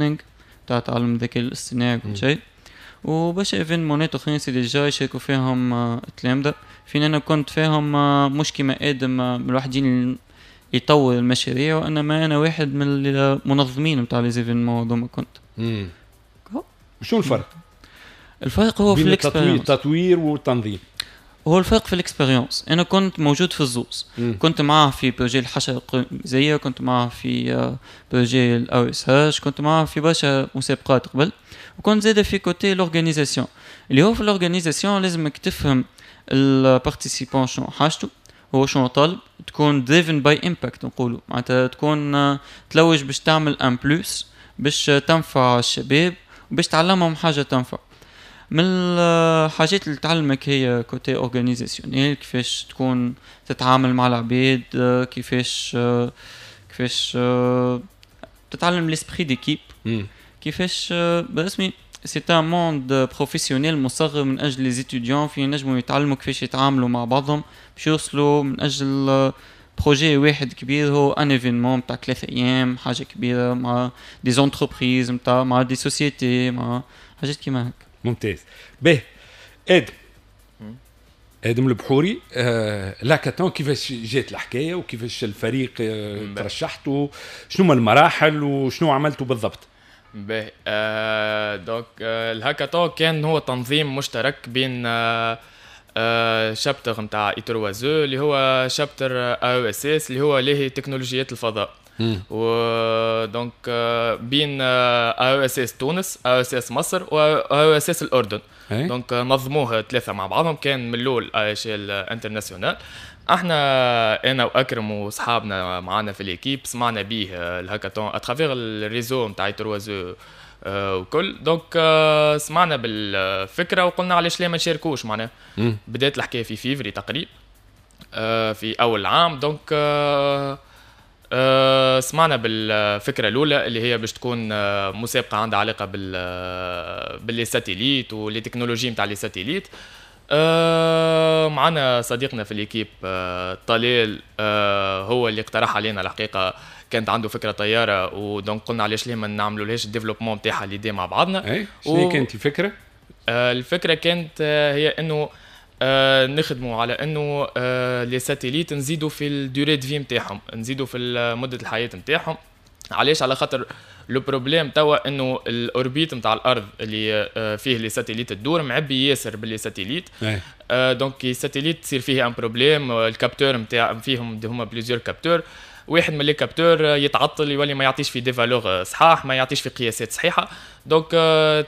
learning تاع تعلم الذكاء الاصطناعي وكل شيء، وبرشا événement ات اخرين c'est déjà يشاركوا فيهم التلامذة. فين انا كنت فيهم مش كيما ادم من الوحيدين يطور المشاريع، وانما انا واحد من المنظمين نتاع les événements هذوما كنت. شنو الفرق؟ الفرق هو في بين التطوير ال expérience. التطوير والتنظيم. هو الفرق في ال expérience. انا كنت موجود في الزوز. كنت معاه في projet الحشرة القرمزيه، كنت معاه في projet ال AESH، كنت معاه في برشا مسابقات قبل، وكنت زاده في côté l'organisation، اللي هو في l'organisation لازمك تفهم ال participant شنو حاجته، هو شنو طالب، تكون driven by impact نقولوا، معناتها تكون تلوج باش تعمل un plus باش تنفع الشباب وباش تعلمهم حاجة تنفع. من الحاجات اللي تعلمك هي côté organisationnel، كيفاش تكون تتعامل مع العباد، كيفاش تتعلم l'esprit d'équipe، كيفاش برسمي c'est un monde professionnel مصغر من اجل les étudiants، في ينجموا يتعلموا كيفاش يتعاملوا مع بعضهم باش يوصلوا من اجل projet واحد كبير، هو un événement نتاع 3 ايام، حاجة كبيرة مع des entreprises نتاع مع des sociétés، مع حاجات كيما هكا. ممتاز. باهي، ادم، ادم البحوري، l'hackathon كيفاش جات الحكاية وكيفاش الفريق ترشحتوا؟ شنو هما المراحل وشنو عملتوا بالضبط؟ باهي، donc الهاكاثون كان هو تنظيم مشترك بين chapter نتاع I3E اللي هو chapter AESS اللي هو لاهي تكنولوجيات الفضاء، و donc بين AESS تونس، AESS مصر و AESS الاردن. donc نظموه ثلاثة مع بعضهم، كان من الاول à échelle internationale. احنا، انا واكرم واصحابنا معنا في l'équipe، سمعنا به ال hackathon à travers ال réseau نتاع I3E وكل، donc سمعنا بالفكرة وقلنا علاش لا ما نشاركوش. معناها بدات الحكاية في فيفري تقريبا في اول عام. donc سمعنا بالفكرة الاولى اللي هي باش تكون مسابقة عندها علاقة بال les satellites و les technologies نتاع les satellites. معنا صديقنا في l'équipe طليل هو اللي اقترح علينا. الحقيقة كانت عنده فكرة طياره، و donc قلنا علاش ليه ما نعملولهاش ال développement نتاعها l'idée مع بعضنا. اي، شنو كانت الفكرة؟ الفكرة كانت هي انه نخدموا على انه les satellites نزيدوا في ال durée de vie نتاعهم، نزيدوا في مده الحياة نتاعهم. علاش؟ على خاطر le problème توا انه ال orbite نتاع الارض اللي فيه les satellites تدور معبي ياسر ب les satellites. Donc ال satellite تصير فيه un problème، ال capteur نتاع فيهم هما plusieurs capteurs، واحد من les capteurs يتعطل، يولي ما يعطيش في des valeurs صحاح، ما يعطيش في قياسات صحيحه، donc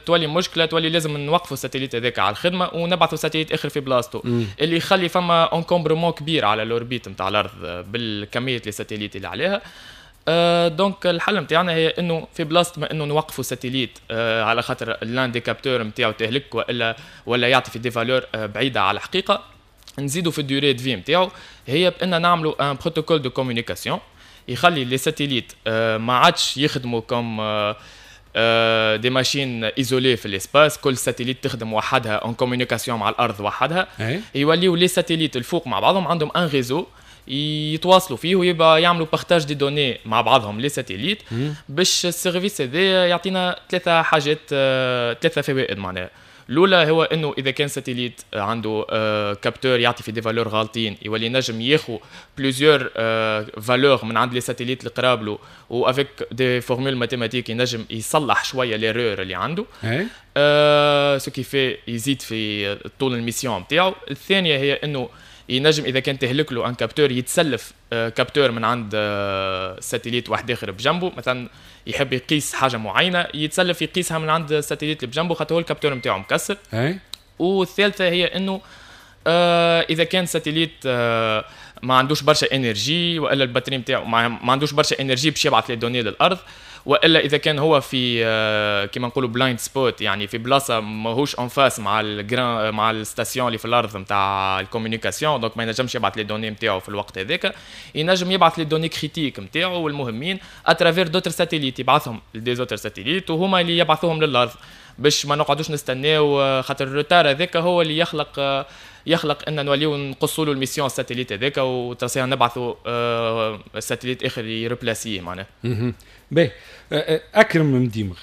تولي مشكله، تولي لازم نوقفوا ال satellite هذاك على الخدمة ونبعثوا satellite اخر في بلاصتو، اللي يخلي فما encombrement كبير على l'orbite نتاع الارض بالكمية les satellites اللي عليها. Donc الحل نتاعنا هي انه في بلاصة ما انه نوقفوا satellite على خاطر l'un des capteurs نتاعو تهلك والا ولا يعطي في des valeurs بعيدة على الحقيقه، نزيدوا في ال durée de vie نتاعو هي بان نعملوا un protocole de communication يخلي les satellites ما عادش يخدموا comme des machines isolées في l'espace، كل satellite تخدم وحدها en communication مع الارض وحدها. يوليو les satellites الفوق مع بعضهم عندهم un réseau يتواصلوا فيه ويبقى يعملوا partage des données مع بعضهم les satellites، باش ال service هذا يعطينا ثلاثة حاجات، ثلاثة فوائد معناها. الاولى هو انه اذا كان satellite عنده capteur يعطي في des valeurs غالطين، يولي نجم ياخذ plusieurs valeurs من عند les satellites اللي قراب له، و avec des formules mathématiques ينجم يصلح شوية l'erreur اللي عنده، ce qui fait يزيد في طول ال mission نتاعو. الثانية هي انه ينجم اذا كان تهلك له un capteur يتسلف capteur من عند satellite واحد اخر بجنبه، مثلا يحب يقيس حاجة معينه، يتسلف يقيسها من عند ال satellite اللي بجنبه خاطر هو ال capteur نتاعو مكسر. والثالثة هي انه اذا كان satellite ما عندوش برشا énergie والا ال batterie نتاعو ما عندوش برشا énergie باش يبعث les données للارض، والا اذا كان هو في كيما نقولوا blind spot، يعني في بلاصة ماهوش en face مع ال grand مع ال station اللي في الارض نتاع ال communication، donc ما ينجمش يبعث les données نتاعو في الوقت هذاك، ينجم يبعث les données critiques نتاعو والمهمين à travers d'autres satellites، يبعثهم ل des autres satellites وهما اللي يبعثوهم للارض، باش ما نقعدوش نستناو، خاطر ال retard هذاك هو اللي يخلق يخلق ان نوليو نقصوا له ال mission ال satellite هذاك وترسيها نبعثوا satellite اخر ي remplacer معناها. باهي، اكرم مديمغ.